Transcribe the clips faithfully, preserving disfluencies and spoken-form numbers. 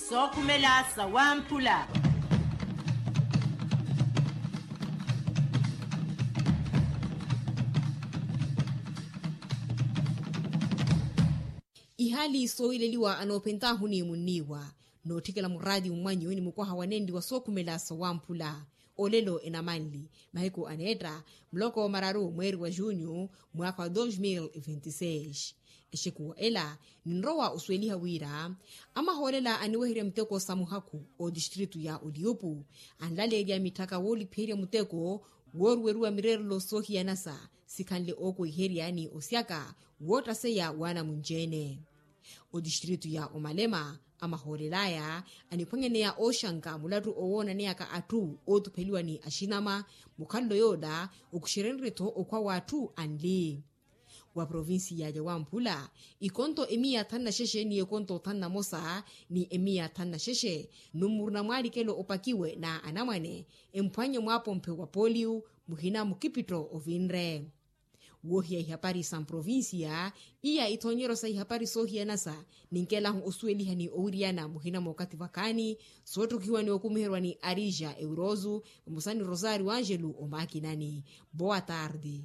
Sookhumela sawamphula. Ihaali soohileliwa anoophentaahu ni munniiwa nootthikela muraati mmwanyu ni mukwaha wanenli wa sookhumela sawamphula. Olelo enamanli mahiku aneetta muloko mararu mweeri wa junyu mwaakha wa dos mil e vinte seis. Exekuwa ela ninrowa osuweliha wira amahoolela aniweherya miteko sa muhakhu otistritu ya oliyupu anlaleerya mitthaka woolipherya muteko wooruweriwa mireerelo soohiyanasa sikhanle ookwehiherya ni osyaka woottaseya waanamunci-ene. Otistritu ya omalema amahoolel'aya aniphwanyaneya ooxanka mulattu owoonaneyaka atthu ootupheliwa ni axinama mukhalelo yoola okuxerenrye-tho okhwa w'atthu anli. Wa provincia ya wamphula ikonto emiya thanu na xexe ni ekonto thanu na mosa ni emiya thanu na xexe numuru na mwaalikelo opakiwe na anamwane emphwannye mwaapomphe wa poliu muhina mukipitto ovinre. Woohiya ihapari sa mprovincia iya ithoonyeryo sa ihapari soohiyanasa ninkelahu osuweliha ni owiriyana muhina mookathi vakhaani sootthukihiwa ni okumiherwa ni arija euroosu vamosa ni rosario angelu omaakinani. Boa tarde.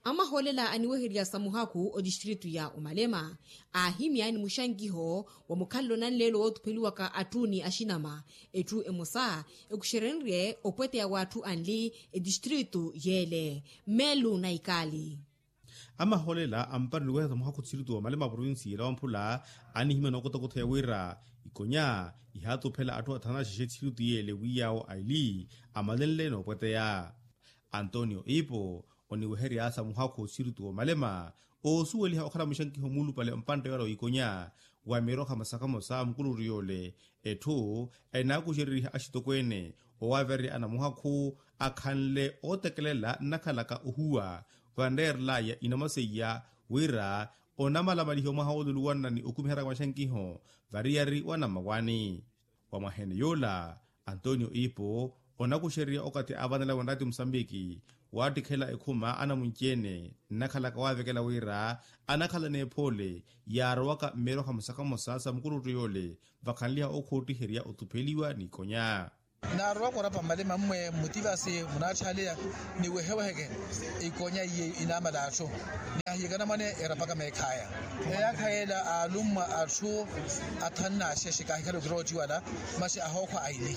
Amahoolela aniweherya sa muhakhu otistritu ya omalema aahimya ni muxankiho wa mukhalelo nanleelo wootupheliwaka atthu ni axinama etthu emosa ekuxerenrye opweteya w'atthu anli etistritu yeele. Melu na ikali. Amahoolela ampari niweherya sa muhakhu otistritu wa omalema aprovincia yeela wamphula anihimya nookotakotheya wira ikonya ihaatuphela atthu athanu na xexe etistritu yeele wi yaawo aili amalenle noopweteya. Antonio ipo oniweherya sa muhakhu otistritu w'omalema oosuweliha okhala muxankiho muulupale mpantte yoora w'ikonya wa mirokha masakhamosa mukuluttu yoole etthu enaakuxereriha axitokweene owaavererya anamuhakhu akhanle ootekelela nnakhalaka ohuwa vanreerel'aya inamwa seiya wira onamalamalihiwa mwaha wooluluwanna ni okumiheryaka maxankiho variyari wa namawani. Wa mwaha-ene yoola antonio ipo onakuxererya okathi aavanela wenraati musambiki waattikhela ekhuma anamunci-ene nnakhalaka waavekela wira anakhala n'ephoole yaarowaka mmirokha musakhamosa sa mukuluttu yoole vakhanliha okhoottixerya otupheliwa n'ikonya. Naarowaka orapa mmalima mmwe mmutivasi munaatthaaleya niweheweheke ikonya iye inaamala atthu ni ahiyekana mwane erapaka meekhaya. Eyaakha yeela aalummwa atthu athanu n'axexe kaahikhala okirooci wala masi ahookhwa aili.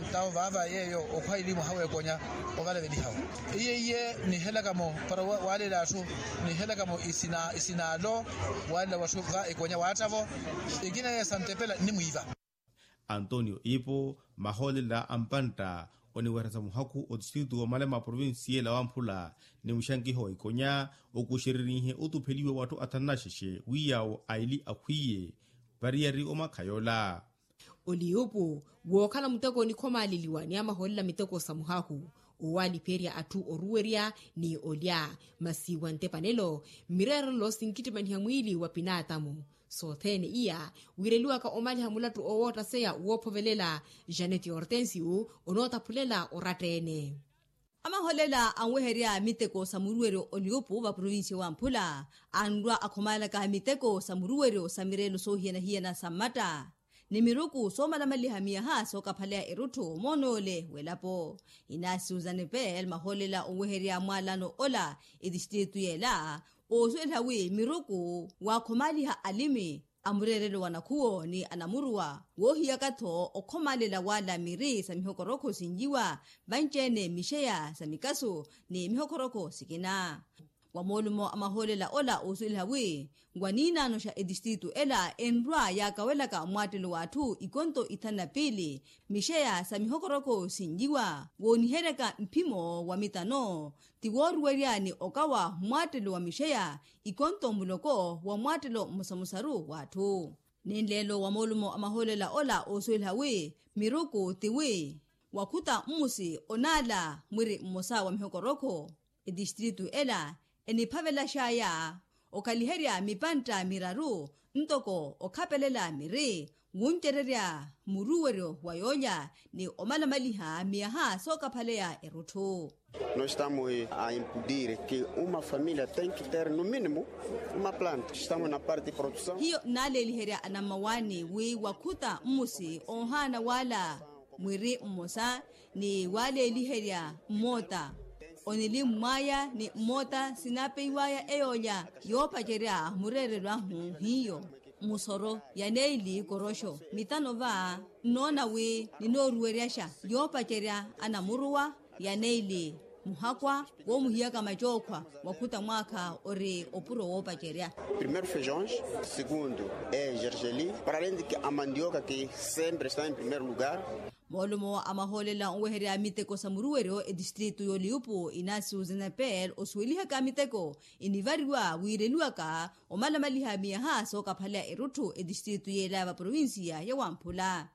Ntawo vaava yeeyo okhwa aili mwaha w'ekonya ovalavelihawo iye iye nihelakamo para waaleela atthu nihelakamo isinaalo waaleela watthu va ikonya waattavo ikina yeeyo santepela nnimwiiva. Antonio ipo mahoolela a mpantta oniweresa muhakhu otistritu w'omalema a provincia ela wamphula ni muxankiho wa ikonya okuxererihe otupheliwa w'atthu athanu naxexe wi yaawo aili akhwiye variyari omakha yoola. Oliyupu wookhala muteko onikhomaleliwa ni amahoolela miteko sa muhakhu owaalipherya atthu oruwerya ni olya masi wa ntepanelo mmireerelo sinkittimaniha mwiili wa pinaatamu. Sothene iya wireliwaka omaliha mulattu owoottaseya woophovelela janet hortensio onootaphulela oratta-ene. Amaholela anweherya miteko sa muruweryo oliupu va provincia wa mphula anrwa akhomalaka miteko sa muruweryo sa mireelo soohiyana-hiyana sa mmatta ni miruku soomalamaliha miyaha sookaphaleya erutthu moonoole w'elapo. Inaasi suzanne peel maholela onweherya mwaalano ola etistritu yeela oosuweliha wi miruku waakhomaliha alimi a mureerelo wa nakhuwo ni anamuruwa woohiyaka-tho okhomalela wala miri sa mihokorokho sinjiwa vanci-ene mixeya sa mikasu ni mihokorokho sikina. Wa moolumo a mahoolela ola oosuweliha wi waniinaano xa etistritu ela enrwa yaakawelaka mwaattelo w'atthu ikonto ithanu na piili mixeya sa mihokorokho sinjiwa wooniheryaka mphimo wa mitano ti wooruwerya ni okawa mwaattelo wa mixeya ikonto muloko wa mwaattelo mmosamosaru w'atthu. Nenleelo wa moolumo a mahoolela ola oosuweliha wi miruku ti wi wakhuta mmusi onaala mwiri mmosa wa mihokorokho etistritu ela eniphavelaxaya okhaliherya mipantta miraru ntoko okhapelela miri wuncererya muruweryo wa yoolya ni omalamaliha miyaha sookaphaleya erutthu. Nós estamos a impedir que uma família tem que ter no mínimo uma planta. Estamos na parte de produção. Hiyo nnaaleeliherya anammawaani wi wakhuta mmusi oohaana waala mwiri mmosa ni waaleeliherya mmoota onilimmwaya ni mmoota sinapeiwaya eyoolya yoopacerya mureerelo ahu hiyo musoro ya neili koroxo mitano va nnoona wi ninooruweryaxa yoopacerya anamuruwa ya neili muhakwa woomuhiyaka macookhwa wakhuta mwaakha ori opuro woopacerya. Primeiro feijões, segundo é gergelim, para além de que a mandioca que sempre está em primeiro lugar. Moolumo a mahoolela onweherya miteko sa muruweryo etistritu y'oliupu inasio zenepel osuwelihaka miteko inivariwa wiireliwaka omalamaliha miyaha sookaphaleya erutthu etistritu yeela va provincia ya wamphula.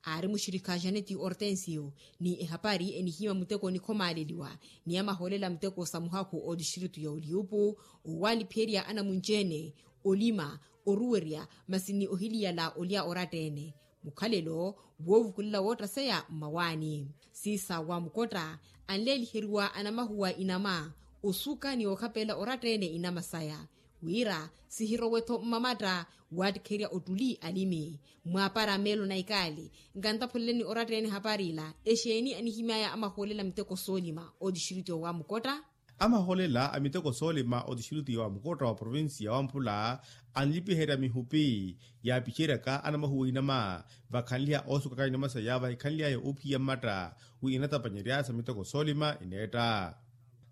Aari muxirikha janeti hortensio ni ehapari enihima muteko nikhomaleliwa ni amahoolela muteko sa muhakhu otistritu ya oliupu owalipherya anamunci-ene olima oruwerya masi ni ohiliyala olya oratta-ene mukhalelo woovukulela woottaseya mmawaani. Siisa wa mukotta anleeliheriwa anamahuwa inama osuka ni ookhapelela oratta-ene inama saya wira sihirowe-tho mmamatta waattikherya ottuli alimi mwaapara meelo na ikaali. Nkantapholeleni oratta-ene hapari ila exeeni anihimyaya amahoolela a miteko soolima otistritu wa mukotta. Amahoolela a miteko soolima otistritu wa mukotta wa provincia wa mphula anlipiherya mihupi yaapiceryaka anamahuwa inama vakhanlyaya oosukaka inama saya vahikhanlyaya oophiya mmatta wi inatapanyerya sa miteko soolima ineetta.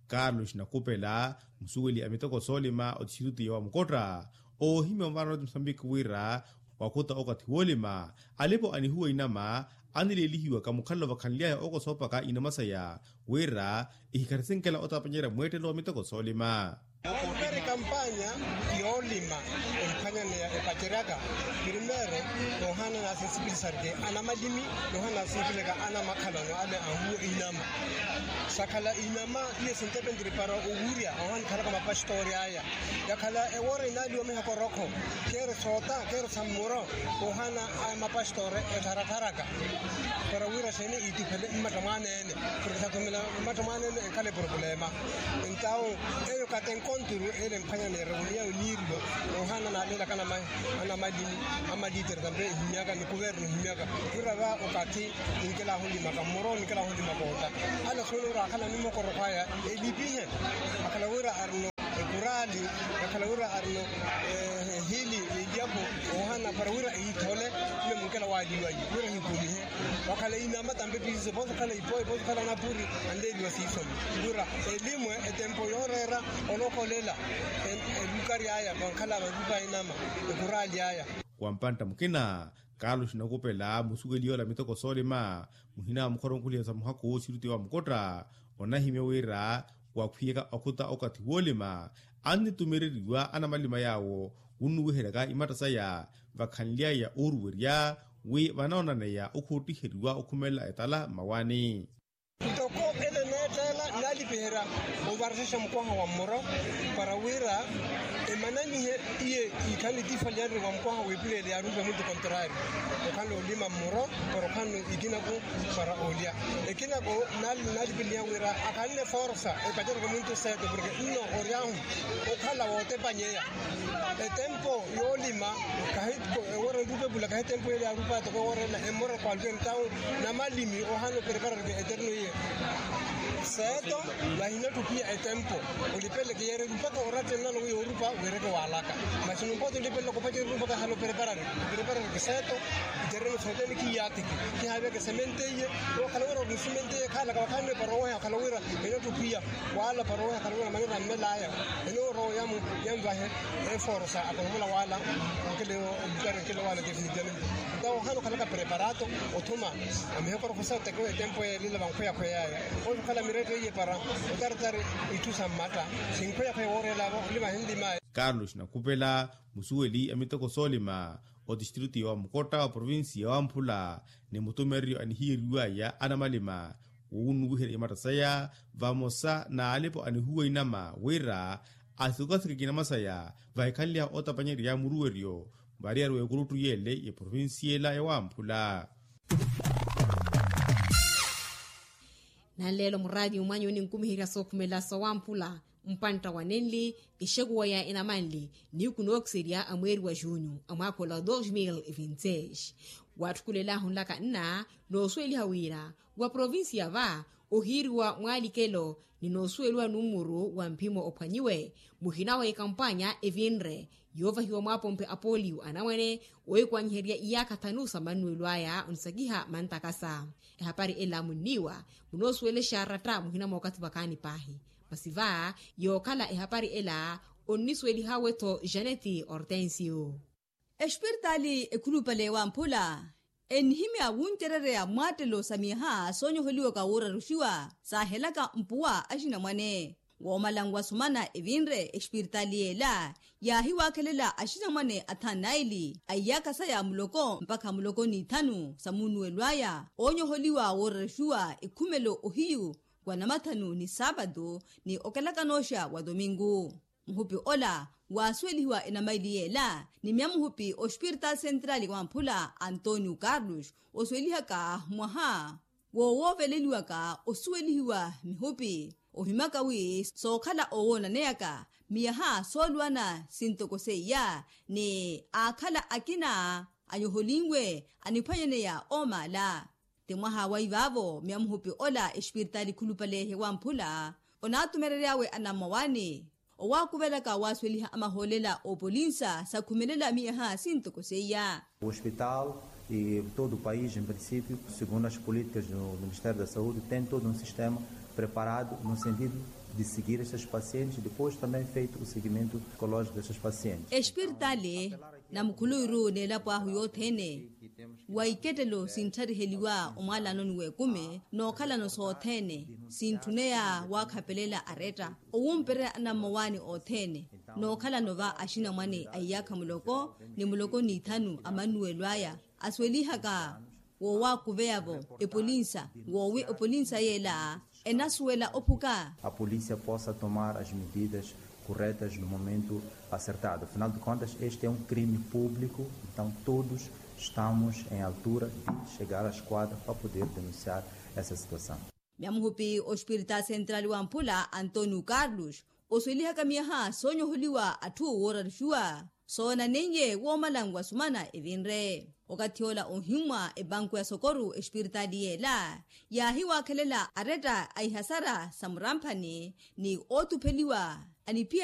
Carlos nakupela musuweli a miteko soolima otistritu ya wamukotta oohimya ovaarana oti musambiki wira wakhuta okathi woolima alipo anihuwa inama anileelihiwaka mukhalelo vakhanlyaya okosoopaka inama saya wira ihikharisinkela otapanyerya mweettelo wa miteko soolima. Kampanya yoolima emphwanyaneya epaceryaka primeiro noohaana nasinsipilisarike anamalimi noohaana nasinsipilisarike anamakhalano ale anhuwa inama sakhala inama iye sintepentiri para owurya ahohanikhalaka mapastori aya yakhala ewoora inaaliwa mihaka orokho kheeri soota kheeri sa mmuro koohaana aya mapastori ettharattharaka para wira xeeni iituphele mmatta mwaneene porke sathumela mmatta mwaneene enkhala epropulema entawu eyo katenkonturu ele emphwanya neerevuniya oniirilo noohaana naaleelaka anamalimi amalitere tampe ehimyaka ni kuvernu ehimyaka wira va okathi ninkelaahulimaka mmuro ninkelaahulimaka otta ale sooni wira akhala ni mokorokho aya elipihe akhala wira arino ekuraali yakhala wira arino ehili eliyapo ohana para wira ehithole mme munkela waaliwayi wira ehikumihe wakhala inama tampe piiso poso khala ipoyi poso khala napuri anleeliwa siisomi wira elimwe etempo yooreera olokholela elukari aya vankhala varupa inama ekuraali aya. Wa mpantta mukina kaalo xinakupela musuweli yoola miteko soolima muhina wa mukhoromukhuliha sa muhakhu wooxirutiwa wa mukotta onahimya wira wakhwiyaka okhuta okathi woolima annitumereriwa anamalima yaawo wunnuwiheryaka imatta saya vakhanlyaya ooruwerya wi vanoonaneya okhuuttiheriwa okhumelela etala mmawaani. Ntoko ele neettela naalipiherya ovaresexa mukwaha wa mmoro para wira emananihe iye ikhani tiifaliyanre wa mukwaha wa epuleele yaarupa muntu kontrari okhanle olima mmoro para okhanle ikinaku para olya ekinako naalipiliha wira akhanle forsa epacereke muntu seto porke nno oryahu okhala wootepanyeya etempo yoolima kahi ewoora nrupa epula kahi etempo yeli yaarupa toko ewoora ela emmora kwalukeni tawu namalimi ohaana opreparareke eterno iye seeto vahinattupiya etempo olipeleke yeereke mpakha oratta ennano wi yoorupa weereke waalaka masi numpote olipeleke opacereke mpakha ahala opreparareke opreparareke seeto itereno sootene khiyaatiki khihaaviyaka esemente iye wookhala wira ori nsemente iye khaalaka vakhaanne para oweha okhala wira enattupiya waala para oweha okhala wira manera mmelaya enoorowa yamu yamvahe eforosa akonomola waala nkele olukari nkele waala definitivamente ntawo ohaana okhalaka preparato othuma amihekorokosa otekewa etempo yeelila vankhweyakhweyaya ookhala miretto iye para otaratari itthu sa mmatta sinkhweyakhweya wooreelavo olimahe nlimaya. Carlos nakupela musuweli a miteko soolima otistritu ya wamukotta wa provincia ya wamphula ni mutumereryo anihiyeriwaya anamalima wunnuwiherya imatta saya vamosa n'alipo anihuwa inama wira asikokasikeke inama saya vahikhanly'ahu otapanyerya muruweryo Variyari w'ekuruttu yele y'eprovincia ela ya wamphula. Nanleelo muraati umwanyu ninkumiherya sookhumela sowamphula. Mpantta wa nenli exekuwa ya enamanli niiku nookiserya a mweeri wa junyu a mwaakha ola dos mil e vinti seis. Waatthukula ela ahunlaka nna noosuweliha wira wa provincia va ohiiriwa mwaalikelo ni noosuweliwa nummuru wa mphimo ophwanyiwe muhina wa ekampanya evinre yoovahiwa mwaapomphe a poliyo anamwane oikwanyiherya iyaakha thanu sa mannuwelo aya onisakiha mantakasa. Ehapari ela munniiwa munoosuwelexa ratta muhina mookathi vakaani paahi. Masi va yookhala ehapari ela onnisuwelihawe-tho janeti hortensio. Expiritaali ekhulupale wamphula enihimya wuncerereya mwaattelo sa miyaha soonyoholiwaka wooraruxiwa saahelaka mpuwa axinamwane. Woomala nwasumana evinre expiritaali yeela yaahiwaakhelela axinamwane athanu naili a iyaakha saya muloko mpakha muloko n'ithanu sa munnuwelo aya oonyoholiwa wooraruxiwa ekhumelo ohiyu wa namathanu ni saapatu ni okelakanooxa wa tominku. Muhupi ola waasuwelihiwa enamaili yeela ni myamuhupi oxpiritaali sentrali wamphula antonio carlos osuwelihaka mwaha woowooveleliwaka osuwelihiwa mihupi ohimaka wi sookhala oowoonaneyaka miyaha sooluwana sintoko seiya ni aakhala akina anyoholinwe aniphwanyaneya oomaala. Ti mwaha wa ivaavo myamuhupi ola expiritaali khulupale hewamphula onaatumereryaawe anammawaani owaakuvelaka waasuweliha amahoolela oopolinsa sakhumelela miyaha sintoko seiya. O hospital e todo o país em princípio segundo as políticas do ministério da saúde tem todo um sistema preparado no sentido de seguir esses pacientes depois também feito o seguimento psicológico desses pacientes. Expiritaali namukhuluwiru n'elapo ahu yothene wa ikettelo sinthariheliwa omwaalanoni w'ekumi nookhalano sothene sintthuneya waakhapelela aretta owumpereya anammawaani othene nookhalano va axinamwane a iyaakha muloko ni muloko n'ithanu a mannuwelo aya asuwelihaka woowaakuveya-vo epolinsa woowi epolinsa yeela enasuwela ophuka. A polícia possa tomar as medidas corretas no momento acertado afinal de contas este é um crime público então todos estamos em altura de chegar à esquadra para poder denunciar essa situação. Myamuhupi ospiritaali sentrali wamphula antonio carlos osuwelihaka miyaha soonyoholiwa atthu wooraruxiwa soonaneiye woomala nwasumana evinre okathi ola ohimmwa epanku ya sokoru espiritaali yeela yaahiwaakhelela aretta a ihasara sa muramphani ni ootupheliwa aniphiya